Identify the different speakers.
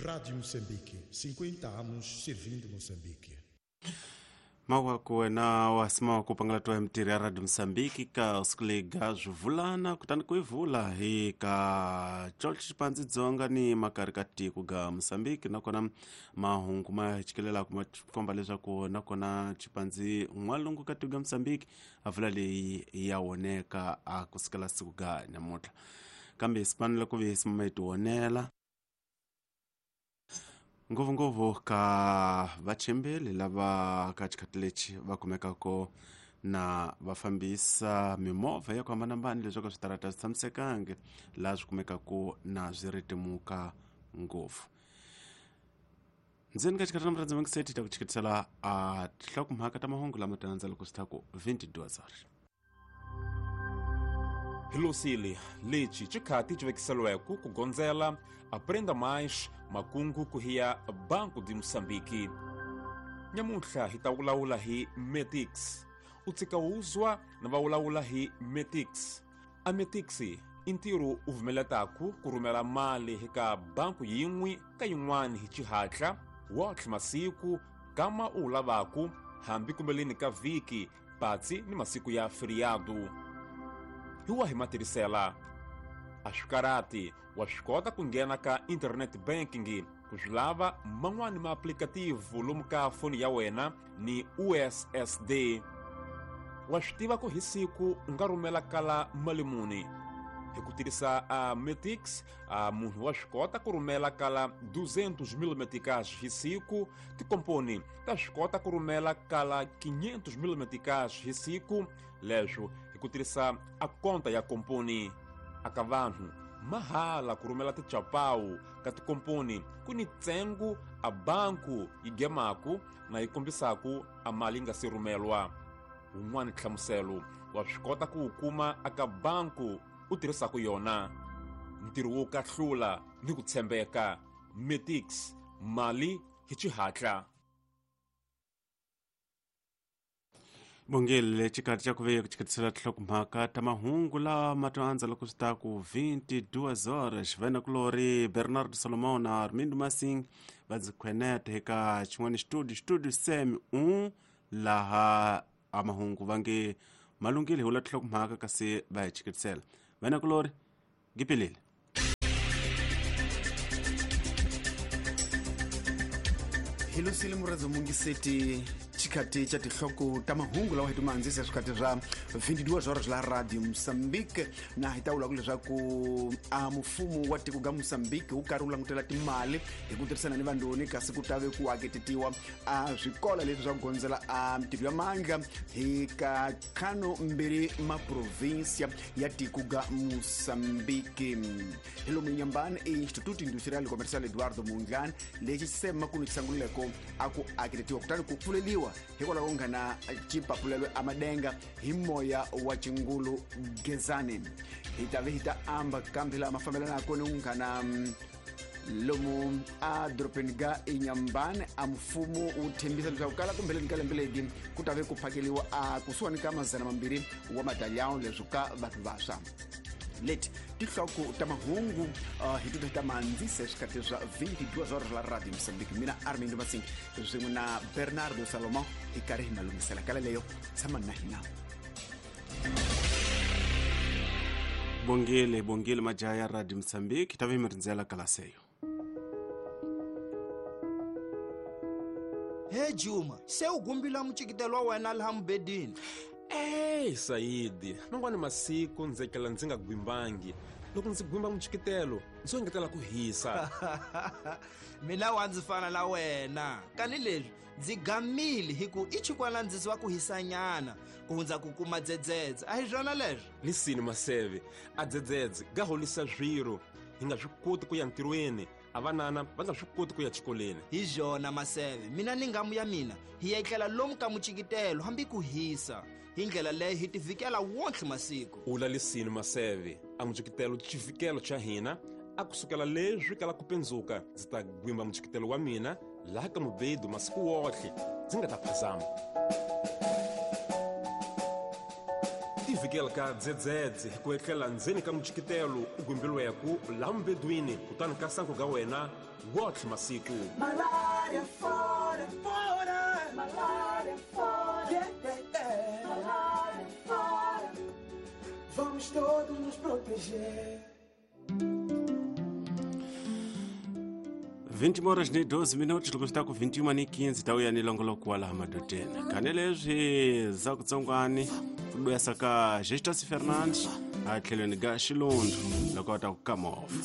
Speaker 1: Rádio Moçambique, 50 anos servindo Moçambique.
Speaker 2: Mawako wena wasima ku pangala twa mtirhi ya Radio Mozambique ka sikulega swivulana kutani ku ivula hi ka George Xipanzi Dzonga ni makari ka tiko ga Mozambique nakona mahungu ma chikelelaka ma komba leswaku nakona Xipanzi n'walungu ka tiko ga Mozambique a vula leyi ya woneka a kusukela siku ga namuntlha kambe sifanele ku ve sima yi tionela ngopfungopfu ka vachembeli lava ka xikhathi lexi va kumekaka na va fambisa mimovha ya ku hambanahambana leswaku switarata swi tshamisekangi laha swi kumekaka na swi ritimuka ngopfu. Ndzeni ka xikhathi na murhandzi vangiseti ta ku chikitisela a tinhlokomhaka ta mahungu lama ta landza loko swi ta ku 22 horas.
Speaker 3: Hilosile lexi xikhati xi vekiseliweke ku gondzela Aprenda Mais makungu ku hiya Banco de Moçambique. Nyamuntlha hi ta vulavula hi Metix. U tshika wuzwa na va vulavula hi Metix. A Metix i ntirho u vumeletaku ku rhumela mali eka banku yin'we ka yin'wana hi xihatla wotlhe masiku kama u wu lavaku hambi kumbeleni ka vhiki patsi ni masiku ya feriado. Hi wahi matirhisela? A swi karhati, wa swi kota ku nghena ka internet banking ku swi lava man'wani maaplikativu lomu ka foni ya wena ni USSD. Wa swi tiva ku hi siku u nga rhumela kala mali muni. Hi ku tirhisa a Metix, a munhu wa swi kota ku rhumela kala 200 mil meticais hi siku, tikomponi ta swi kota ku rhumela kala 500 mil meticais hi siku, leswo hi ku tirhisa a konta ya komponi. Aka vanhu mahala ku rhumela tichapawu ka tikomponi ku ni ntsengo a banku yi gemaku na yi kombisaku a mali yi nga si rhumelwa. Wun'wani nhlamuselo wa swi kota ku wu kuma aka banku u tirhisaku yona. Ntirho wo kahlula ni ku tshembeka. Metix, mali hi xihatla.
Speaker 2: Bongile xikhathi xa ku ve ku chiketisela tinhlokomhaka ta mahungu lama to andza loko swi ta ku 22 horas vanakulori Bernardo Solomon na Armindo Masing va ndzi khwenete eka xin'wana studio studio sem 1 laha a mahungu va nge malungile hi wula tinhlokomhaka kasi va hi chiketisela. Vanakulori gipilile.
Speaker 4: Hilosile muradzo mungiseti xikhathi xa tinhloko ta mahungu lawa hi ti mandzisa swikhathi swa 22 horas la Radio Mozambique na hi ta vula ku leswaku a mfumo wa tiko ga Mozambique wu karhi wu langutela timali hi ku tirhisana ni vandoni kasi ku ta ve ku aketetiwa a swikola leswi swa ku gondzela a mitirho ya mandla hi ka ntlhanu mbirhi maprovinsia ya tiko ga Mozambique. Hi lomu Nyambani i Instituto Industrial Comercial Eduardo Mondlane lexi xisema ku ni xisangululeko a ku aketetiwa kutani ku pfuleliwa hikwalaho ko nghena xipapulelo amadenga hi moya wa xingulu Gezani. Hi ta ve hi ta amba kambe laha mafambelanaka ni nghana lomu a dorobeni ga Inhambane a mfumo wu tshembisa leswaku kala kumbeleni ka lembe legi ku ta ve ku phakeliwa a kusuhani ka 200 wa madalyawu leswi ka vanhu vantshwa. Leti tinhloko ta mahungu hi tita ta mandzise swikhathi swa 22 horas la Radio Mozambique. Mina Armindo Masing swin'we na Bernardo Salomon hi karhi hi malunghisela kala leyo tshama na hina.
Speaker 2: Bongile bongile majaha ya Radio Mozambique ta ve mi rindzela kalaseyo.
Speaker 5: He Juma, se u gumbila mucikitelo wa wena laha mubedini.
Speaker 3: Ey Saidi, man'wani masiku ndzi etlela ndzi nga gwimbangi. Loko ndzi gwimba muchikitelo, ndzi engetela ku hisa.
Speaker 5: Mina wa ndzi fana na wena. Kani leswi ndzi gamile hi ku i chikwana ndzi wa ku hisanyana ku hundza ku kuma dzedzedze. A hi swona leswo?
Speaker 3: Lisini maseve, a dzedzedze ga holisa swiro. Hi nga swi koti ku ya ntirhweni, a vanana va nga swi koti ku ya xikolweni.
Speaker 5: Hi byona maseve, mina ni ngamu ya mina hi etlela lomu ka muchikitelo hambi ku hisa. Hi ndlela leyo hi tivikela wonke masiku.
Speaker 3: Ula lisini maseve, a muchikitelo xivikelo xa hina a kusukela leswi kala ku pendzuka ndzi ta gwimba muchikitelo wa mina laha ka mubedu masiku wohle ndzi nga ta phazama. Tivhikela ka dzedzedze hi ku etlela ndzeni ka mujikitelo u gwimbiliweku laha mubedwini kutani ka sanku ga wena wotlhe masiku.
Speaker 6: Malária fora, fora, malária fora, yeah, yeah, yeah. Malária fora. Vamos todos nos proteger.
Speaker 2: 20 horas ni 12 minutos loko swi ta ku 21 ni 15 ta uya ni longoloko wa laha madodeni khane leswi za kutsongwani ku duyasa ka Gestas Fernandes a tlhelweni ka xilundu loko va ta ku kamofa.